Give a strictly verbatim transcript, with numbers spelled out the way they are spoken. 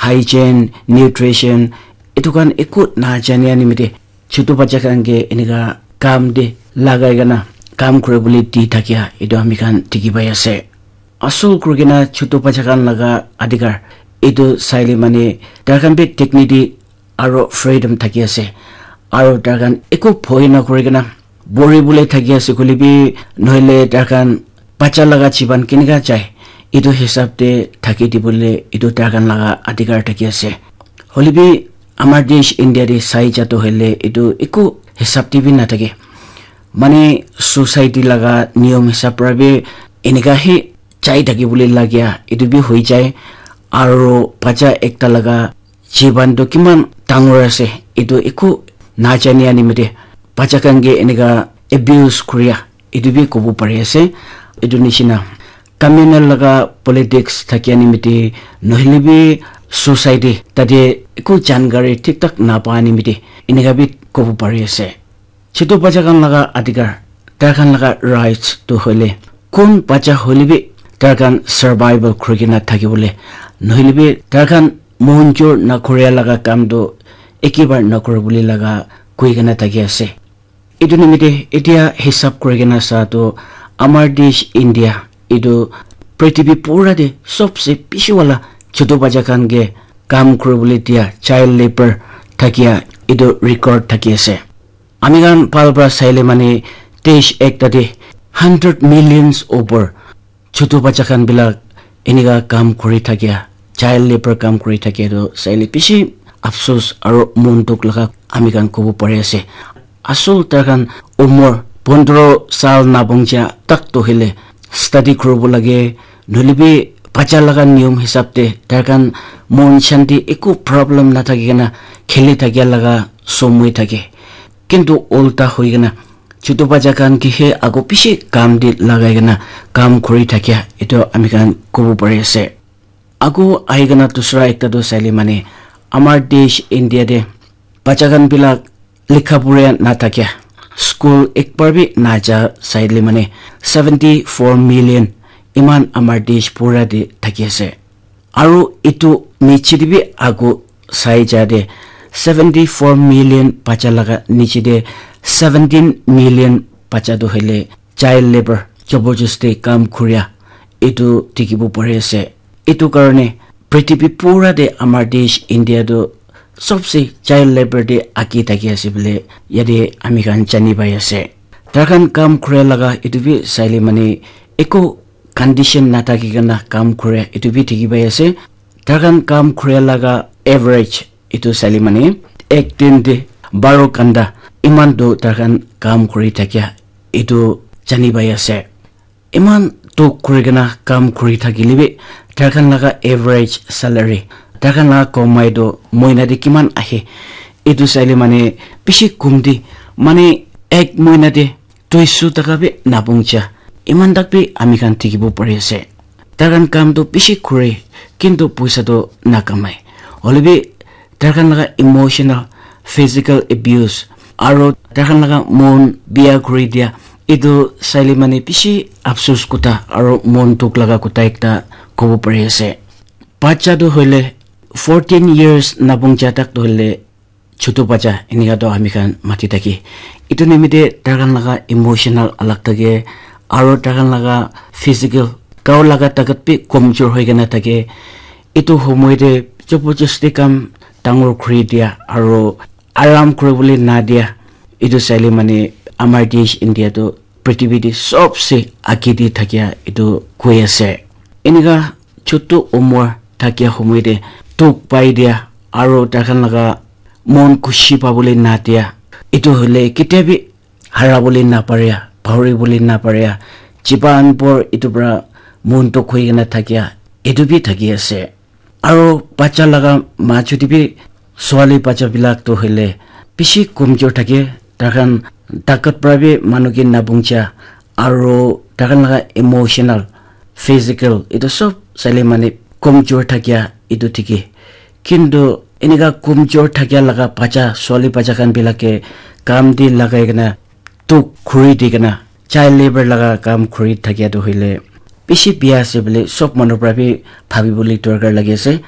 hygiene, nutrition, etu khan eku najania nimite chutu bacha khan ke enika kam te lagai kena kam kuri bole di thakia etu ami khan dikhi pai ase. Asol kuri kena chutu bacha khan laga adhikar etu saile mane tai khan bi dignity aro freedom thaki ase. Aro tai khan eku bhoi na kuri kena bori bole thaki ase koile bi nohole tai khan bacha laga jiban kenika jai etu hisab te thaki dibole etu tai khan laga adhikar thaki ase. Hoile bi amar desh India te sai ja toh hoile etu eku hisab te bi nathake. Mane society laga niyom hisab para bi enika he jai thaki bole lagia etu bi hoi jai. Aro bacha ekta laga jiban toh kiman dangor ase etu eku najania nimite bacha khan ke enika abuse kuria etu bi kobo pari ase. Etu nishina communal laga politics thakia nimite nohole bi society tate eku jankari thik thak napa nimite enika bi kobo pari ase. Chutu bacha khan laga adhikar, tai khan laga rights tu hoile kun bacha hoile bi tai khan survival kuri kena thaki bole nohole bi tai khan monjur na kuria laga kam tu ekebar na kuri bole laga koi kena thaki ase. Etu nimite etia hisab kuri kena sa tu amar desh India etu prithibi pura te sobse bishi wala chutu bacha khan ke kam kuri bole dia child labour thakia etu record thaki ase. Ami khan bhal para saile mane desh ekta te hundred millions over chutu bacha khan bilak enika kam kuri thakia, child labour kam kuri thakia tu saile bishi afsus aro mon dukh laga ami khan kobo pari ase. Asol tai khan umor pondro sal nabong ja tak toh hoile study kuribo lage, nohole bi bacha laga niyom hisab te tai khan mon shanti eku problem nathaki kena kheli thakia laga somoi thake. Kintu ulta hoi kena chutu bacha khan ke he ago bishi kam te lagai kena kam kuri thakia etu ami khan kobo pari ase. Ago ahi kena dusra ekta tu saile mane amar desh India te bacha khan bilak likha pura na thakia, school ekbar bi na ja saile mane seventy four million iman amar desh pura te thaki ase. Aru etu niche te bi ago sai ja te seventy four million bacha laga niche te seventeen million bacha tu hoile child labour, jabardasti kam kuria, etu dikhibo pari ase. Etu karne prithibi pura te amar desh India tu sobse child labour te age thaki ase bole yate ami khan jani pai ase. Tai khan kam kura laga etu bi saile mane eku condition nathaki kena kam kura etu bi dikhi pai ase. Tai khan kam kura laga average etu saile mane ek din te baro ghanta eman tu tai khan kam kuri thakia etu jani pai ase. Eman dukh kuri kena kam kuri thakile bi tai khan laga average salary, tai khan laga komai tu moina te kiman ahe etu saile mane bishi kom te mane ek moina te duiso taka bi napungcha. Eman tak bi ami khan dikhibo pari ase. Tai khan kam tu bishi kure, kintu poisa tu nakamai. Hoilebi tai khan laga emotional, physical abuse, aro tai khan laga mon biya kuri dia, etu saile mane bishi afsus kotha aro mon dukh laga kotha ekta kobo pari ase. Bacha tu hoile fourteen years napungcha tak tu hoile chutu bacha enika toh ami khan mati thaki. Etu nimite tai khan laga emotional alag thake, aro tai khan laga physical, gao laga takat bi komjor hoi kena thake. Etu homoi te jabardasti kam dangor kuri dia, aro aram kuribole na dia. Etu saile mane amar desh India tu prithibi te sobse age te thakia etu koi ase. Enika chutu umor thakia homoi te dukh pai dia, aro tai khan laga mon khushi pabole na dia, etu hoile ketia bi harabole na paria, pahoribole na paria, jiban bhor etu para mon dukh hoi kena thakia, etu bi thaki ase. Aro bacha laga majot te bi swali bacha bilak tu hoile bishi komjor thake, tai khan takat para bi manu ke napungcha, aro tai khan laga emotional, physical, etu sob saile mane komjor thakia etu thiki. Kintu enika komjor thakia laga bacha, swali bacha khan bilak ke kam te lagai kena dukh kuri di kena child labour laga kam kuri thakia tu hoile bishi biya ase bole sob manu para bi bhabibole dorkar lagi ase.